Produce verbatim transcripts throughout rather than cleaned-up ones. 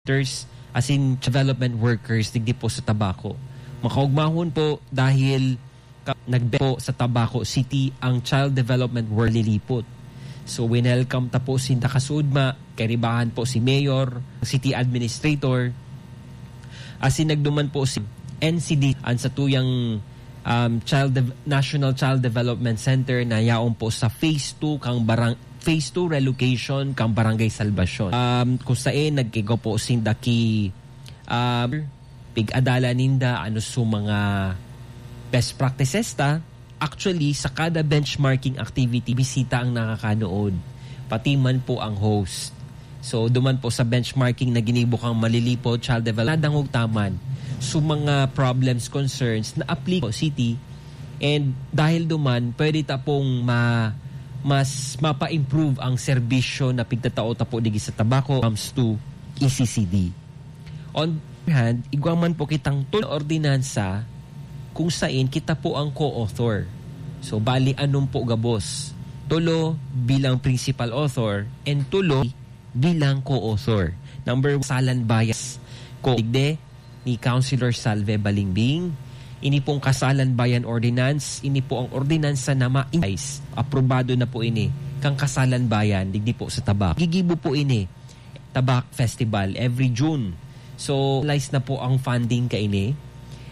Doctors, asin development workers digdi po sa Tabaco. Makaugmahon po dahil ka-, nagbe-, po sa Tabaco City ang child development work lilipot. So, winelcome ta po sinda kasuodma, kaibahan po si Mayor, City Administrator, asin nagduman po si N C D, ang satuyang, um, Child Dev-, National Child Development Center na yaon po sa phase two kang barang-, phase two relocation kang Barangay Salvacion. Um, kung sain nagkigo po sinda ki, um, pig-adalan ninda ano su mga best practices ta. Actually, sa kada benchmarking activity, bisita ang nakakanood, pati man po ang host. So, duman po sa benchmarking na ginibo kang Malilipo Child Development, nadangog ta man su mga problems, concerns na apliko city. And dahil duman, pwede ta pong ma-, mas mapa-improve ang serbisyo na pigtatao ta po digdi sa Tabaco comes to E C C D. On the other hand, igwa man po kitang tulo na ordinansa kung sain kita po ang co-author. So, bali, anom po gabos. Tulo bilang principal author and tulo bilang co-author. Number one, Kasalan Bayan. Ko, digdi ni Councilor Salve Balingbing. Ini pong Kasalan Bayan Ordinance, ini po ang ordinansa na ma-, aprobado na po ini kang Kasalan Bayan, digdi po sa Tabaco. Gigibo po ini, Tabaco Festival, every June. So, finalize na po ang funding kaini.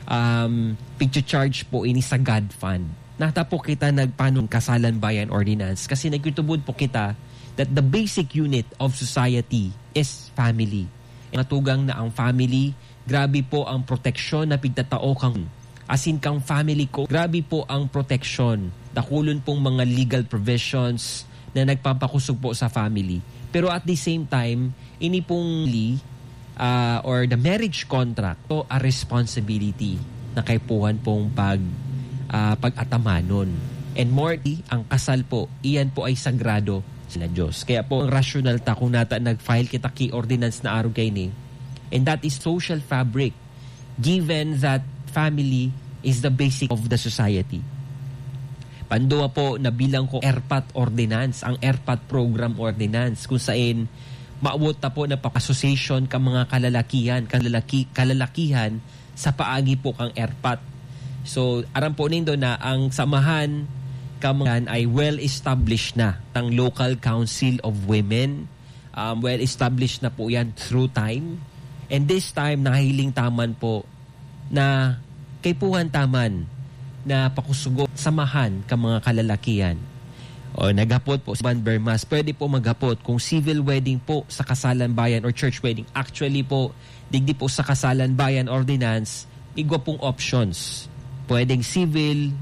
Um, pigcha-charge po ini sa GAD Fund. Nata po kita nagpanon Kasalan Bayan Ordinance kasi nagtutubod po kita that the basic unit of society is family. Matugang na ang family, grabe po ang proteksyon na pigtatao kang asin kang family ko. Grabe po ang proteksyon. Dakulon pong mga legal provisions na nagpapakosog po sa family. Pero at the same time, ini pong li-, ah, or the marriage contract, to a responsibility na kaipuhan pong pag-, ah, pag-atamanon. And more, ang kasal po, iyan po ay sagrado sa Diyos. Kaya po, ang rasyonal ta kung nata nag-file kita ki ordinance na arog kaini, and that is social fabric, given that family is the basic of the society. Panduwa po na bilang ko ERPAT Ordinance, ang ERPAT Program Ordinance, kung sain mawot ta po na pa-, association ka mga kalalakihan, kalalaki-, kalalakihan sa paagi po kang ERPAT. So, aram po nindo na ang samahan ka mga ay well-established na, ang Local Council of Women, um, well-established na po yan through time. And this time, nahiling ta man po na kaipuhan ta man na pakusugo, samahan ka mga kalalakihan. O, naghapot po si Van Bermas, pwede po maghapot kung civil wedding po sa Kasalan Bayan or church wedding. Actually po, digdi po sa Kasalan Bayan Ordinance, igwa pong options. Pwedeng civil,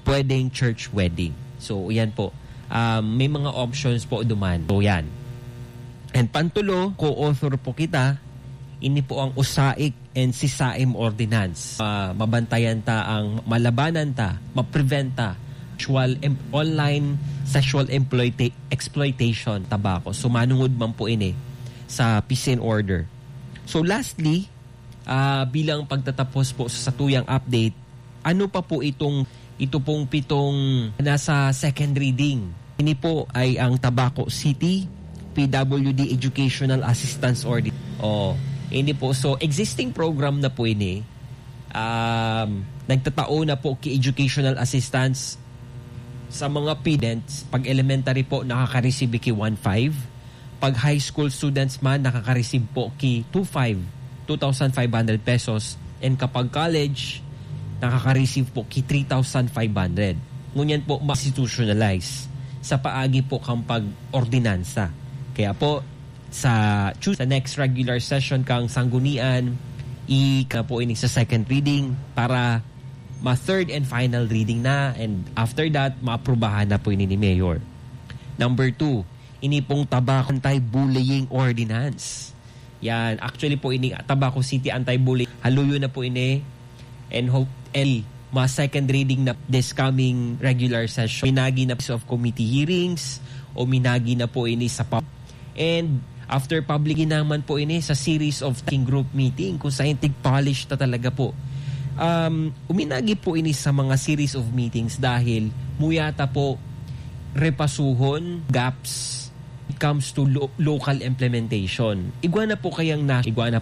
pwedeng church wedding. So, yan po. Um, may mga options po duman. So, yan. And pantulo, co-author po kita, ini po ang USAIC and SESAIM Ordinance. Ah, mabantayan ta ang malabanan ta, ma-prevent ta sexual em-, online sexual employta-, exploitation, Tabaco. So, manungod man po ini sa peace and order. So, lastly, ah, bilang pagtatapos po sa satuyang update, ano pa po itong, ito pong pitong nasa second reading? Ini po ay ang Tabaco City P W D Educational Assistance Ordi-, oh, ini po. So, existing program na po ini. Um, nagtatao na po ki educational assistance sa mga students. Pag elementary po, nakaka-receive ki one five. Pag high school students man, nakaka-receive po ki two five, two thousand five hundred pesos. And kapag college, nakaka-receive po ki three thousand five hundred. Ngunyan po, ma-institutionalize sa paagi po kang pag-ordinansa. Kaya po, sa Tues-, sa next regular session kang Sanggunian, i-, ka po ini sa second reading para ma-third and final reading na, and after that, maaprubahan na po ini ni Mayor. Number two, ini pong Tabaco Anti-Bullying Ordinance. Yan, actually po ini, Tabaco City Anti-Bullying, haluyo na po ini, and hope, and ma-second reading na this coming regular session. Minagi na piece of committee hearings, o minagi na po ini sa pub-, and after public, ginaman po ini sa series of working group meeting kung saan tig-polish ta talaga po. Um, uminagi po ini sa mga series of meetings dahil muya ta po repasuhon, gaps, it comes to lo- local implementation. Igwa na po kayang na, igwa na